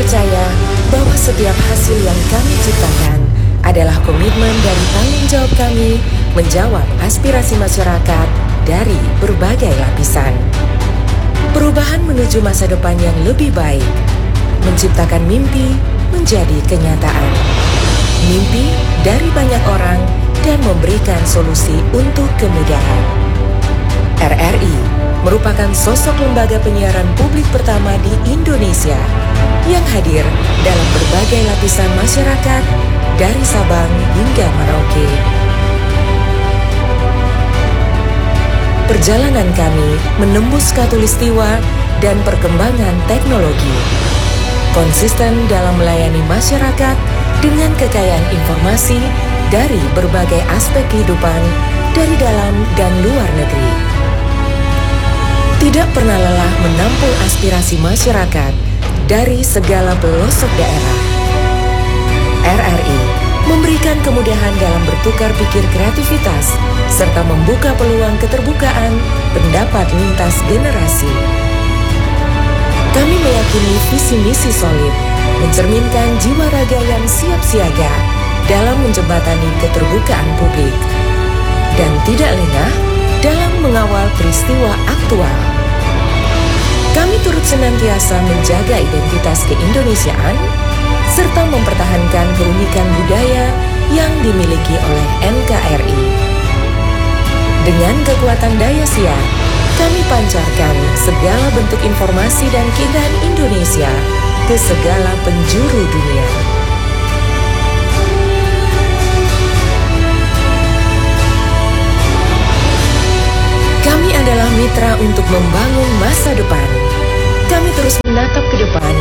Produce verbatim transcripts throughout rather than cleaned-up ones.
Percaya bahwa setiap hasil yang kami ciptakan adalah komitmen dari tanggung jawab kami menjawab aspirasi masyarakat dari berbagai lapisan. Perubahan menuju masa depan yang lebih baik, menciptakan mimpi menjadi kenyataan. Mimpi dari banyak orang dan memberikan solusi untuk kemudahan. R R I merupakan sosok lembaga penyiaran publik pertama di Indonesia yang hadir dalam berbagai lapisan masyarakat, dari Sabang hingga Merauke. Perjalanan kami menembus khatulistiwa dan perkembangan teknologi. Konsisten dalam melayani masyarakat dengan kekayaan informasi dari berbagai aspek kehidupan dari dalam dan luar negeri. Tidak pernah lelah menampung aspirasi masyarakat dari segala pelosok daerah. R R I memberikan kemudahan dalam bertukar pikir kreativitas serta membuka peluang keterbukaan pendapat lintas generasi. Kami meyakini visi misi solid mencerminkan jiwa raga yang siap siaga dalam menjembatani keterbukaan publik dan tidak lengah dalam mengawal peristiwa aktual. Kami turut senantiasa menjaga identitas keindonesiaan serta mempertahankan keunikan budaya yang dimiliki oleh N K R I. Dengan kekuatan daya siar, kami pancarkan segala bentuk informasi dan keindahan Indonesia ke segala penjuru dunia. Kami adalah mitra untuk membangun masa depan. Kami terus menatap ke depan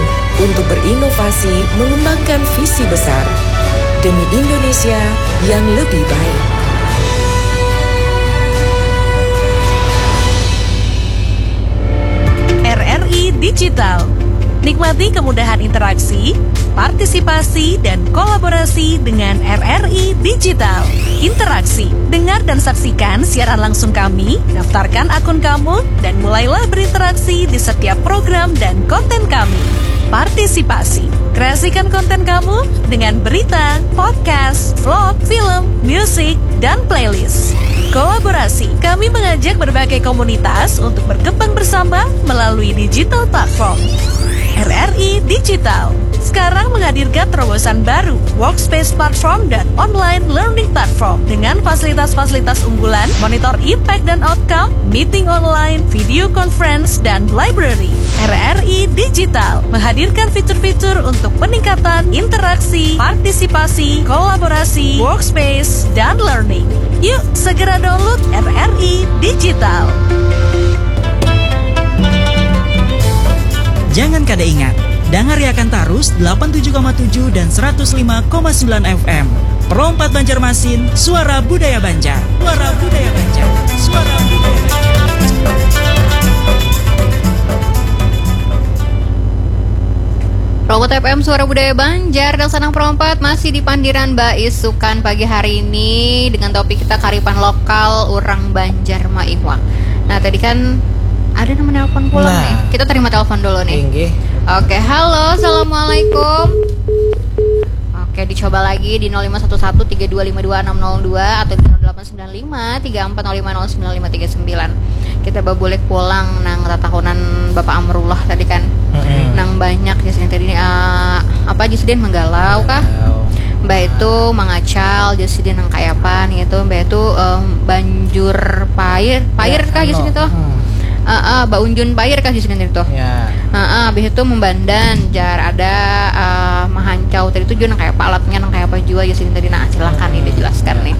untuk berinovasi, mengembangkan visi besar demi Indonesia yang lebih baik. R R I Digital. Nikmati kemudahan interaksi, partisipasi, dan kolaborasi dengan R R I Digital. Interaksi, dengar dan saksikan siaran langsung kami, daftarkan akun kamu, dan mulailah berinteraksi di setiap program dan konten kami. Partisipasi, kreasikan konten kamu dengan berita, podcast, vlog, film, musik, dan playlist. Kolaborasi, kami mengajak berbagai komunitas untuk berkembang bersama melalui digital platform. R R I Digital sekarang menghadirkan terobosan baru, workspace platform dan online learning platform dengan fasilitas-fasilitas unggulan, monitor impact dan outcome, meeting online, video conference, dan library. R R I Digital menghadirkan fitur-fitur untuk peningkatan interaksi, partisipasi, kolaborasi, workspace, dan learning. Yuk, segera download R R I Digital. Jangan kada ingat, dangariakan tarus delapan tujuh koma tujuh dan seratus lima koma sembilan F M. Pro empat Banjarmasin, suara budaya Banjar. Suara budaya Banjar. Suara budaya Banjar. Pro empat F M, suara budaya Banjar, dan sanang Pro empat masih di pandiran baisukan pagi hari ini dengan topik kita karipan lokal urang Banjar maiwak. Nah, tadi kan ada nang menelpon pulang Nah. nih. Kita terima telepon dulu nih. Inggih. Oke, halo, assalamualaikum. Oke, dicoba lagi di nol lima satu satu tiga dua lima dua enam nol dua atau di nol delapan sembilan lima tiga empat nol lima nol sembilan lima tiga sembilan. Kita babulik pulang nang tatahunan Bapak Amrullah tadi kan. Mm-mm. Nang banyak jar sidin tadi, eh, apa jar sidin, manggalau kah? Manggalau. Mbah itu mangacal jar sidin nang kayapa nih itu. Mbah itu, em, banjur pair, pair Ya, kah jar anu, sidin tuh? Hmm. Heeh, baunjun pair kah jar sidin tadi tuh? Ya. Heeh, habis itu membandan, jar ada, eh, mahancau tadi tuh jua nang kayapa alatnya, nang kayapa jua jar sidin tadi. Nah, silakan nih Hmm, dijelaskan ya. nih.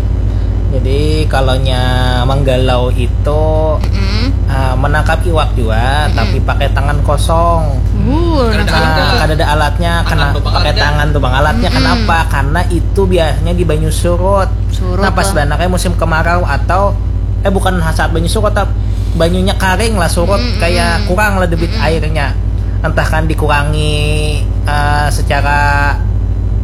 Jadi, kalau nya manggalau itu, Mm-mm. eh, menangkap iwak jua, Mm-mm. tapi pakai tangan kosong. Uh, Kada ada nangkap alatnya. Ah, iwak. Kada ada alatnya, Tangan kena tu pakai pangalatnya. tangan tu pangalatnya. Mm-mm. Kenapa? Karena itu biasanya di banyu surut. Surut Nah, pas lah. banaknya musim kemarau atau, eh, bukan saat banyu surut, tapi banyunya karing lah, surut, Mm-mm. kayak kurang lah debit Mm-mm. airnya. Entah kan dikurangi, eh, secara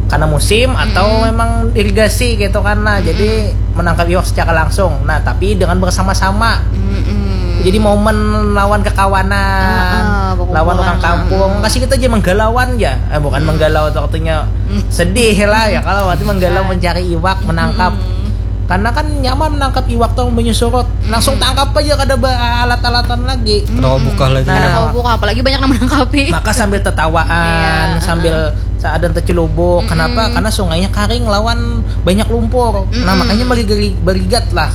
karena musim atau Mm-mm. memang irigasi gitu kan. Nah, Mm-mm. jadi menangkap iwak secara langsung. Nah, tapi dengan bersama-sama. Mm-mm. Jadi momen lawan kekawanan. Ah, ah, lawan orang kampung, kasih kita aja menggalauan ya. Eh, bukan menggalau tuh artinya sedih lah ya, kalau waktu menggalau mencari iwak, menangkap. Karena kan nyaman menangkap iwak tuh, menyusurut, langsung tangkap aja, kada ba- alat-alatan lagi. Kenapa buka lagi? Nah, Kalau buka apalagi banyak yang menangkapi. Maka sambil tetawaan, Iya, sambil seadan tercelubuk. Kenapa? Karena sungainya kering lawan banyak lumpur. Nah, makanya beri- berigat lah.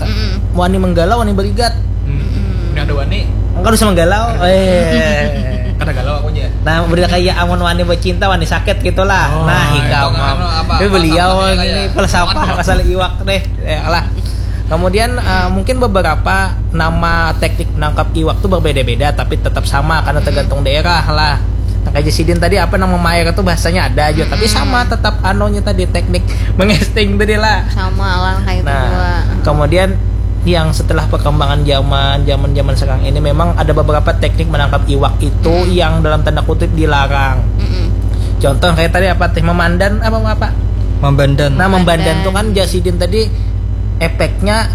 Wani menggalau, wani berigat. Hmm. Ini ada wani. Enggak usah menggalau. Eh. Kada galau aku aja. Nah, beda kayak amun wani bercinta, wani sakit gitulah. Oh, Nah, itu hikam kan apa, beliau apa, ini apa, filsafat apa. Masalah iwak deh. Ya lah. Kemudian eh, mungkin beberapa nama teknik menangkap iwak tuh berbeda-beda, tapi tetap sama karena tergantung daerah lah. Nah, kayak sidin tadi, apa, nang memair itu bahasanya ada aja, tapi sama tetap anunya tadi, teknik mengesting tadi lah. Sama lah kayak itu Nah, juga. Kemudian yang setelah perkembangan zaman, zaman zaman sekarang ini, memang ada beberapa teknik menangkap iwak itu yang dalam tanda kutip dilarang. Mm-mm. Contoh kayak tadi, apa teh, memandan apa apa? Membandan. Nah, membandan tuh kan jar sidin tadi efeknya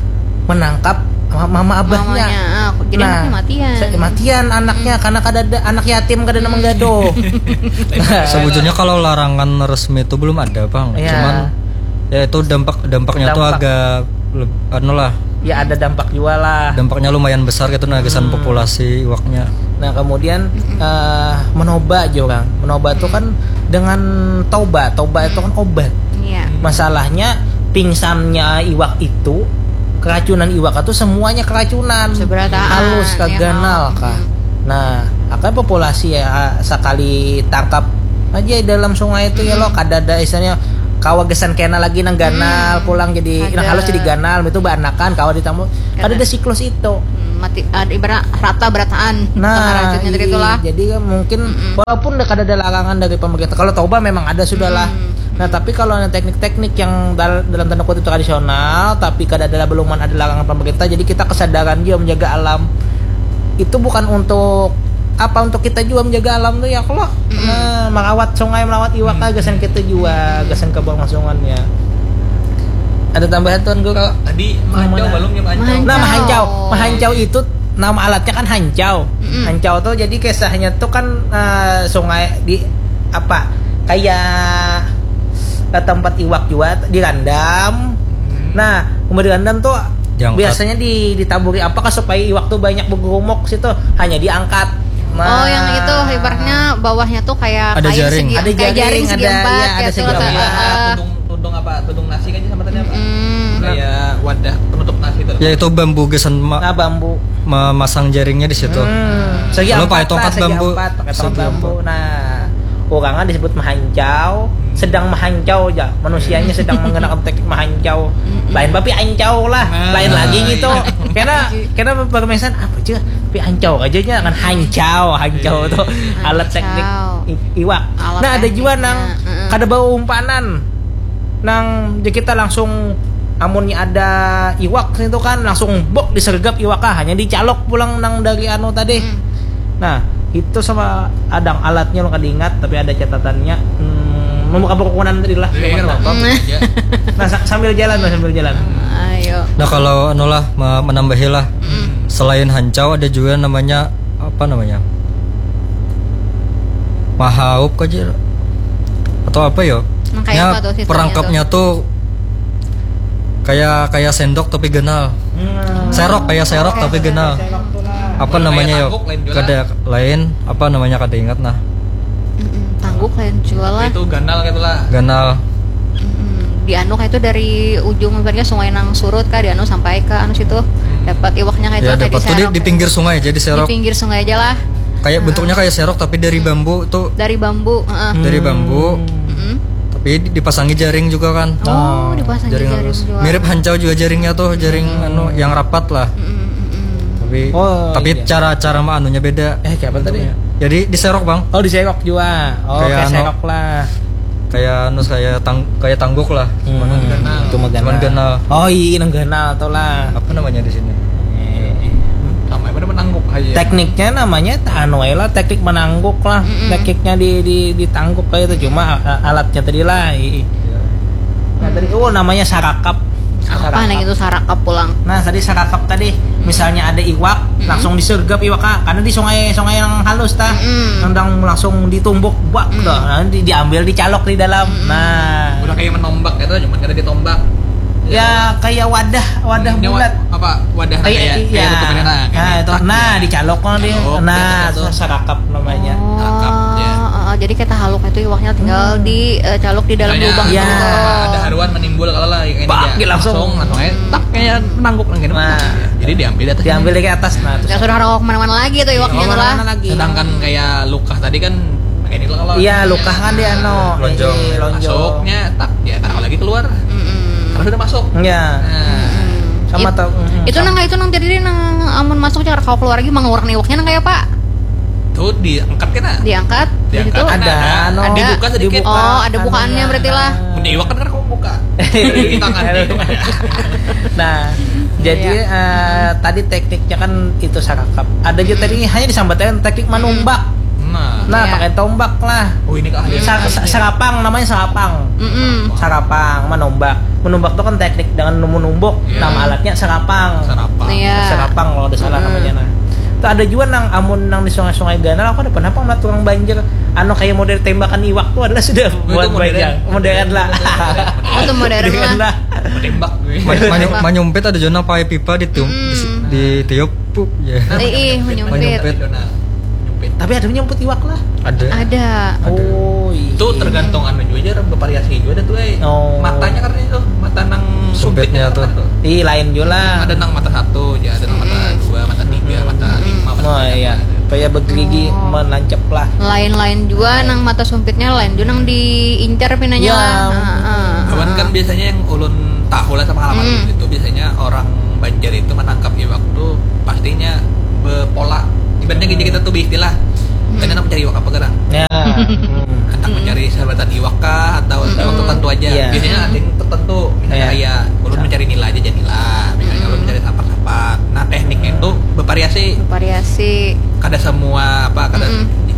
menangkap ma- mama abahnya. Mamanya, ah, jadi Nah, anaknya matian. sa- matian anaknya karena kada ada anak yatim, kada ada menggaduh. Sebujurnya kalau larangan resmi itu belum ada, Bang. Iya. Cuman ya itu dampak dampaknya tuh Dampak. Agak leb- anu lah. Ya, ada dampak juga lah. Dampaknya lumayan besar gitu, nah, gasan populasi iwaknya. Nah, kemudian eh, menoba aja orang. Menoba itu kan dengan toba. Toba itu kan obat. Iya. Masalahnya pingsannya iwak itu, keracunan iwak itu semuanya keracunan. Seberataan, Halus kah, ya, ganal mau. Kah. Nah, akan populasi ya sekali tangkap aja dalam sungai itu ya lo, kada ada istilahnya kawa gasan kena lagi nang ganal pulang jadi nang Ada. Halus jadi ganal itu baanakan kawa ditamu, kada ada siklus itu. Hmm, mati ada ibarat rata berataan. Nah, Pengaracunnya tadi iya, itulah. Jadi kan mungkin walaupun udah kada ada larangan dari pemerintah, kalau toba memang ada sudah lah. Nah, tapi kalau ada teknik-teknik yang dal- dalam tanda kutip tradisional, tapi kada ada, belum ada larangan pemerintah, jadi kita kesadaran juga menjaga alam. Itu bukan untuk apa, untuk kita juga menjaga alam tuh ya, kalau nah, merawat sungai, merawat iwak lah, gasan kita juga, gasan keberlangsungannya. Ada tambahan, Tuan Guru? Tadi mahancau Mana? Belum ya mahancau. Mahancau. Nah, mahancau. Mahancau itu nama alatnya kan hancau. Hancau tuh jadi kisahnya tuh kan eh, sungai di apa, kayak eh, tempat iwak juga dirandam. Nah, umur dirandam tuh Diangkat. Biasanya di ditaburi apa kah supaya iwak tuh banyak bergerumuk situ, hanya diangkat. Nah, Oh, yang itu ibaratnya bawahnya tuh kayak Ada kain jaring. segi- Ada kayak jaring, segi ada- empat, iya, kayak ada segi tuh, empat. eh, Tudung, tudung apa? Tudung nasi kan sama tadi apa? Hmm. Kayak wadah penutup nasi itu. Ya itu bambu gasan ma- Nah, bambu. memasang jaringnya di situ. Hmm. Segi Kalau empat pakai tongkat lah, segi bambu. Empat, pakai tongkat Segi bambu. Nah, orangnya disebut mahancau, sedang mahancau aja. Manusianya sedang menggunakan teknik mahancau. Lain tapi ancau lah, Nah, lain lagi gitu. Karena karena permesan apa aja, tapi ancau aja nya kan hancau, hancau tuh alat Hancau. Teknik i- iwak. Alat Nah, ada juga tekniknya, nang heeh. kada bawa umpanan. Nang jadi kita langsung amunnya ada iwak itu kan langsung bok disergap iwak ah, hanya dicalok pulang nang dari anu tadi. Nah, itu sama ada alatnya lo kada ingat tapi ada catatannya. Hmm, membuka perukunan tadi lah. Iya, iya, Nah, apa-apa. Hmm. Ya. nah, sa- sambil jalan lah, sambil jalan. Ayo. Nah kalau anu lah me- menambahi lah. Selain hancau ada juga namanya apa namanya? Mahaup aja atau apa yo? Nang kayak Ya, apa tuh sistemnya perangkapnya tuh kayak kayak sendok tapi ganal. Hmm. Serok, kayak serok tapi ganal. Apa Lain namanya yo? Tangguk, lain juga. Kada lain, apa namanya, kada ingat nah. Mm-mm, tangguk lain juga lah. Itu ganal gitu lah. Ganal. Mm-mm. Di anu kayak itu dari ujung ibaratnya sungai nang surut kah, di anu sampai ke anu situ dapat iwaknya kayak Ya itu kayak dapat tuh di, diserok. Di pinggir sungai jadi serok. Di pinggir sungai aja lah. Kayak bentuknya kayak serok tapi dari bambu tuh. Dari bambu, heeh. Dari bambu. Mm-mm. Tapi di- dipasangi jaring juga kan. Oh, dipasangi Jaring jaring halus. juga. Mirip hancau juga jaringnya tuh, jaring anu yang rapat lah. Mm-mm, mm-mm. Tapi Oh, tapi iya. Cara cara maanunya beda. Eh, kayak apa tadi? Jadi diserok, Bang. Oh, diserok juga. Oh, Kayak kayak anu. Serok lah. Kayak anu saya tang kayak tangguk lah. Hmm, itu mah Cuman ganal. Oh, iya, nang ganal tuh lah. Apa namanya di sini? Eh, Sama apa menangguk aja. Tekniknya namanya anu aja lah, teknik menangguk lah. Tekniknya di di ditangguk kayak itu, cuma a- alatnya tadi lah. I- Nah, tadi oh, namanya sarakap. Apa nang itu sarakap pulang? Nah, tadi sarakap tadi, misalnya ada iwak, langsung disergap iwak, ah, karena di sungai, sungai yang halus, tah. Nendang langsung ditumbuk, bak, dah. Nah, di- diambil, dicalok di dalam. Nah, Udah kayak menombak itu, cuman kada ditombak. Ya, kayak wadah, wadah Ini wa- bulat. Apa, wadah Kayak, kayak iya. kayak itu bener, nah, Nah, kayak itu. tak, Nah, ya. dicalok kan dia. Calok, Nah, kayak itu gitu. Sarakap namanya. Oh, Rakap, ya. eh, eh, jadi kita haluk itu iwaknya tinggal di eh, caluk di dalam Misalnya, lubang Ya. gitu. Ada haruan menimbul kalau lah kayak ini, Bak, ya. dia langsung. Langsung, langsung aja tak kayak menangguk nang gini. Nah. Jadi diambil di atas. Diambil kayak atas, nah, terus Ya sudah, rawa kemana-mana lagi tuh iwaknya Iya, tuh lah. mana lagi? Sedangkan kayak luka tadi kan kayak ini lah kalau. Iya, luka kan dia, no. Lonjong. Iya, lonjong. Masuknya tak, ya, taruh lagi keluar. Mm-mm. Karena sudah masuk. Ya. Mm-mm. Sama It- tau. Mm-mm. Itu nang itu nang tadi nang amun masuk cara kau keluar lagi, mangurang iwaknya nang kayak apa? Tuh diangkat kena. Diangkat, di Diangkat. Situ. Ada, no. Dibuka sedikit. Oh, ada bukaannya anunya. berarti lah. Mun iwak kan, kan kamu buka. Iya. Di tangan nih. Nah, jadi eh, tadi tekniknya kan itu sarakap. Ada juga tadi hanya disambatkan teknik manumbak. Nah. Nah, Iya. pakai tombak lah. Oh, ini keahlian. Sa- sa- sarapang, namanya sarapang. Mm-mm. Sarapang, manumbak. Manumbak itu kan teknik dengan menumbuk. Iya. Nama alatnya sarapang. Sarapang. Iya. Sarapang kalau ada salah namanya, nah. Itu ada juga nang amun nang di sungai-sungai ganal, aku ada pernah apa ngeliat tukang banjir anu kayak model tembakan iwak tuh adalah sudah Itu buat modern. banjir. Modern lah. Oh, itu modern lah. Modern lah. Tembak gue. Ma- manyu- manyumpit ada juga nang pakai pipa ditiup di- ditiup pup ya. Eh, ih, menyumpit. Menyumpit. Nyumpit. Tapi ada menyumpit iwak lah. Ada. Ada. Oh, iya. Itu tergantung anu juga aja, bervariasi juga ada tuh, eh. Oh. Matanya karena itu, mata nang Sumpitnya sumpitnya tuh. kan tuh. Ih, lain juga lah. Ada nang mata satu aja, ada nang mata dua, mata tiga, mata lima, mata Oh, iya. Kayak begerigi menancap lah. Lain-lain juga nang mata sumpitnya, lain juga nang diincar pinanya Ya. Lah. Heeh. Cuman kan biasanya yang ulun tahu lah sama halaman itu, biasanya orang Banjar itu menangkap iwak tuh pastinya bepola. Ibaratnya gini, kita tuh beristilah, kan hendak mencari iwak apa, gerang? Ya. Hmm. Hendak mencari sahabatan iwak kah atau iwak tertentu aja? Iya. Biasanya ada yang tertentu, misalnya Iya. Kayak ulun mencari nila aja, jadi nila. Misalnya ulun mencari sapat-sapat. Nah, tekniknya itu bervariasi. Variasi. Kada semua apa, kada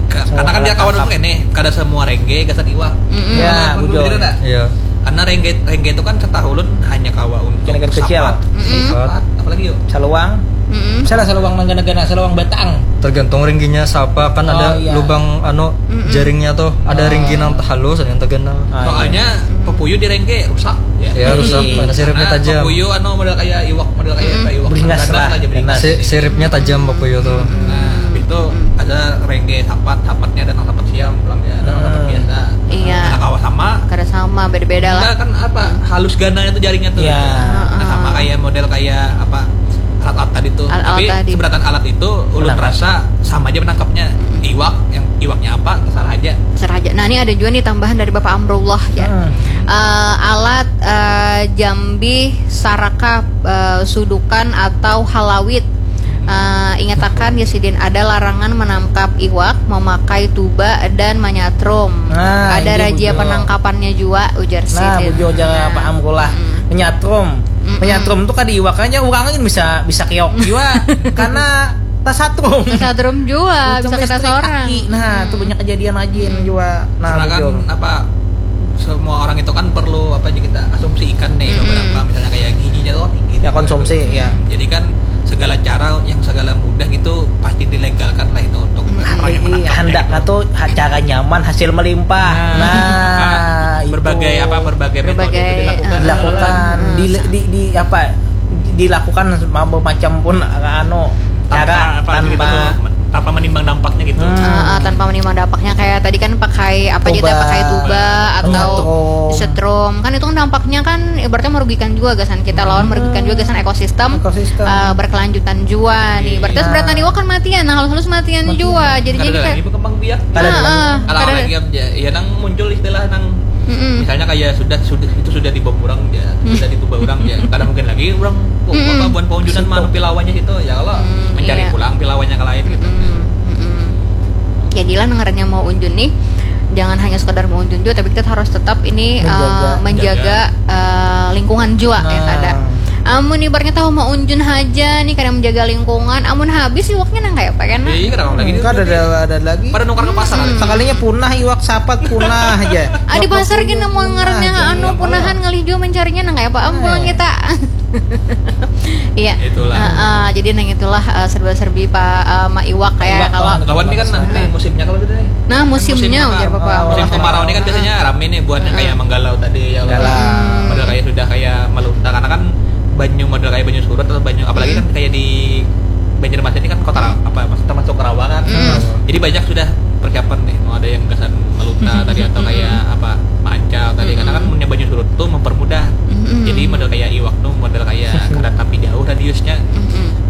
ka- Semua karena kan dia alat kawan tangkap. Untuk ini, kada semua rengge gasan iwak. Mm-mm. Ya, Nah, bujur. Bener tak? Iya. Karena rengge rengge itu kan setahu ulun hanya kawa untuk Ikan-ikan kecil. sapat, Mm-mm. sapat, apalagi yuk. Saluang. Mm-mm. Salah saluang nang gana-gana, saluang batang. Tergantung ringginya siapa, kan Oh, ada iya. lubang anu Mm-mm. jaringnya tuh, ada ringgi nang halus, ada yang terganal. Ah, iya. Soalnya pepuyu di rengge rusak. Ya rusak, Iya. karena siripnya Karena tajam. Pepuyu anu model kayak iwak, model kayak apa, iwak Beringas ganas lah, aja, beringas. ganas. Si- siripnya tajam pepuyu tuh. Nah, itu ada rengge sapat, sapatnya ada nang sapat siam, pulang ya, ada nang sapat biasa. Iya. Anak kawa sama. Kada sama, beda-beda lah. Enggak kan apa, halus gananya tuh jaringnya tuh. Ya. Nah, sama kayak model kayak apa, alat-alat tadi tuh. Alat-alat Tapi tadi. Seberatan alat itu ulun rasa sama aja menangkapnya. Iwak, yang iwaknya apa, terserah aja. Terserah aja. Nah, ini ada juga nih tambahan dari Bapak Amrullah ya. Eh, alat eh, jambi, saraka, eh, sudukan atau halawit. Eh, ingatakan ya sidin, ada larangan menangkap iwak memakai tuba dan manyatrum. Nah, Ada ini razia bujur. Penangkapannya juga, ujar Nah, sidin. bujur, jangan Pak Amrullah. Menyatrum. Menyatrum tuh kada iwak aja, urang ini bisa bisa keok juga karena tasatrum. Tasatrum juga, bisa Untung kena listrik seorang. Aki. Nah, tuh banyak kejadian aja juga. Nah, Karena kan bujur. Apa, semua orang itu kan perlu apa aja kita asumsikan nih, beberapa, misalnya kayak giginya tuh tinggi. Ya, konsumsi, ya. Jadi kan segala cara yang segala mudah gitu pasti dilegalkan lah itu untuk orang yang Iya, menangkapnya handaknya gitu. Tuh ha- cara nyaman, hasil melimpah. Nah, itu. Berbagai apa, berbagai metode Berbagai, itu dilakukan. Dilakukan di, di, di apa, dilakukan macam pun anu, Tanpa cara apa gitu, tanpa tanpa menimbang dampaknya gitu. Ah, ah, tanpa menimbang dampaknya, kayak tadi kan pakai apa aja, Tuba, pakai tuba atau menyetrum. Setrum, kan itu kan dampaknya kan ibaratnya merugikan juga gasan kita lawan, merugikan juga gasan ekosistem. Ekosistem. Eh, berkelanjutan juga nih. Berarti seberatan iwak kan matian, nah halus-halus matian juga. Jadinya Kada ini ada kayak lagi berkembang biak. Kada ada Ah, ah, Kalau kada lagi aja, ya nang muncul istilah nang Mm-mm. misalnya kayak sudah sudah itu sudah dibom orang ya, sudah dibom orang ya, kada mungkin lagi orang, oh, apa, buat paunjunan mah pilawanya situ ya, kalau mencari Iya. Pulang pilawanya ke lain gitu. Mm-mm, mm-mm. Jadilah, nang ngarannya mau unjun nih, jangan hanya sekadar mau unjun juga, tapi kita harus tetap ini, eh, Menjaga. menjaga, eh, lingkungan juga, ya, Nah. kada. Amun ibaratnya tahu maunjun haja nih, kada menjaga lingkungan. Amun habis iwaknya nang kaya apa kan? Iya, iya, kenapa lagi? Kada ada, ada lagi. Pada nukar ke pasar. Sekalinya punah iwak sapat, punah aja. Ah, di pasar gini mau ngarannya anu punahan, ngalih jua mencarinya nang kaya apa? Am, pulang kita. Iya. Itulah. Ah, ah, jadi nang itulah, eh, serba-serbi pa, eh, ma iwak ya kalau. Lawan ini kan nah, nih musimnya kalau gitu nih. Nah, musimnya Musim ujar apa? papa. Musim kemarau ini kan biasanya rame nih buat yang kayak menggalau tadi ya. Menggalau. Model kayak sudah kayak melunta karena kan banyu, model kayak banyu surut atau banyu, apalagi kan kayak di Banjarmasin ini kan kota Ra- apa, maksudnya termasuk rawa kan. Jadi banyak sudah persiapan nih, mau ada yang gasan melunta tadi atau kayak apa, mancal tadi, karena kan munnya banyu surut tuh mempermudah. Jadi model kayak iwak tuh model kayak kada tapi jauh radiusnya,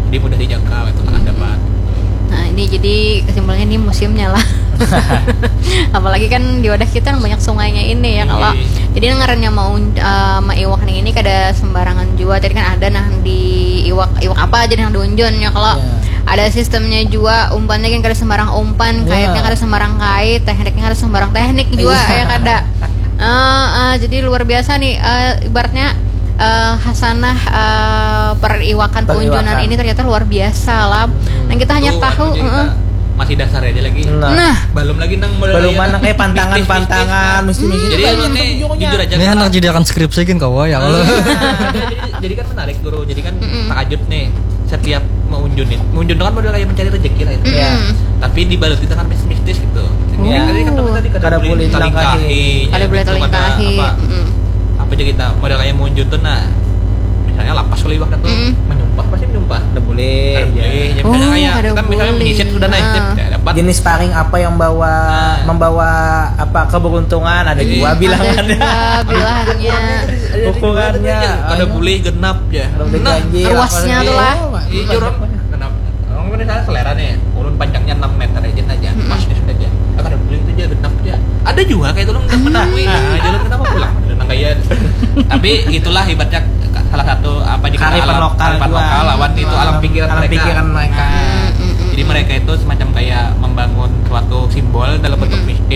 jadi mudah dijangkau itu kan dapat. Nah, ini jadi kesimpulannya ini musimnya lah. Apalagi kan di wadah kita yang banyak sungainya ini ya kalau. Iya. Jadi yang ngarannya mau, eh, ma iwak nih ini kada sembarangan jua. Tadi kan ada nah di iwak, iwak apa aja yang diunjun ya kalau. Ada sistemnya juga, umpannya kan kada sembarang umpan, kaitnya kada sembarang kait, tekniknya kada sembarang teknik juga ya kada. Eh, eh, jadi luar biasa nih, eh, ibaratnya, eh, hasanah, eh, periwakan, peunjunan ini ternyata luar biasa lah. Dan kita hanya Tuh, tahu, anu, jadi heeh. Masih dasar aja lagi. Nah, Nah, Belum lagi nang model belum kayak mana kayak pantangan-pantangan, mesti mesti. Jadi emang nih jujur aja. Ini anak jadi akan skripsi gin kawa ya kalau. Jadi, jadi kan menarik guru. Jadi kan takajut nih setiap meunjun nih. Meunjun kan model kayak mencari rezeki lah itu. Iya. Tapi dibaluti dengan mistis-mistis gitu. Iya. Tadi kan tadi kada Kada boleh boleh talingkahi. Kada boleh talingkahi. Apa, apa aja kita model kayak meunjun tuh nah. Misalnya lapas kalau iwak tuh menyumpah, pasti menyumpah. Kada boleh. Kada boleh. Ya, misalnya Oh, kayak kada kita misalnya boleh. Menyisip sudah naik, Heeh. ya, dapat. Jenis paring apa yang bawa membawa apa keberuntungan, ada juga bilangannya. Ada juga bilangannya. Ukurannya Kada boleh genap ya. Kada boleh Nah, ganjil, Ruasnya apa tuh lah. Iya, orang kenapa? Orang misalnya selera nih, ulun panjangnya enam meter aja saja, pas nih sudah aja. Ah, kada boleh itu aja genap aja. Ada juga kayak itu ulun nggak mengetahui. Nah, jalan kenapa pulang? Nang kayak. Tapi itulah ibaratnya salah satu apa di Kearifan lokal kearifan juga. Lokal lawan itu alam pikiran Alam mereka. pikiran mereka. Nah, jadi mereka itu semacam kayak membangun suatu simbol dalam bentuk mistik.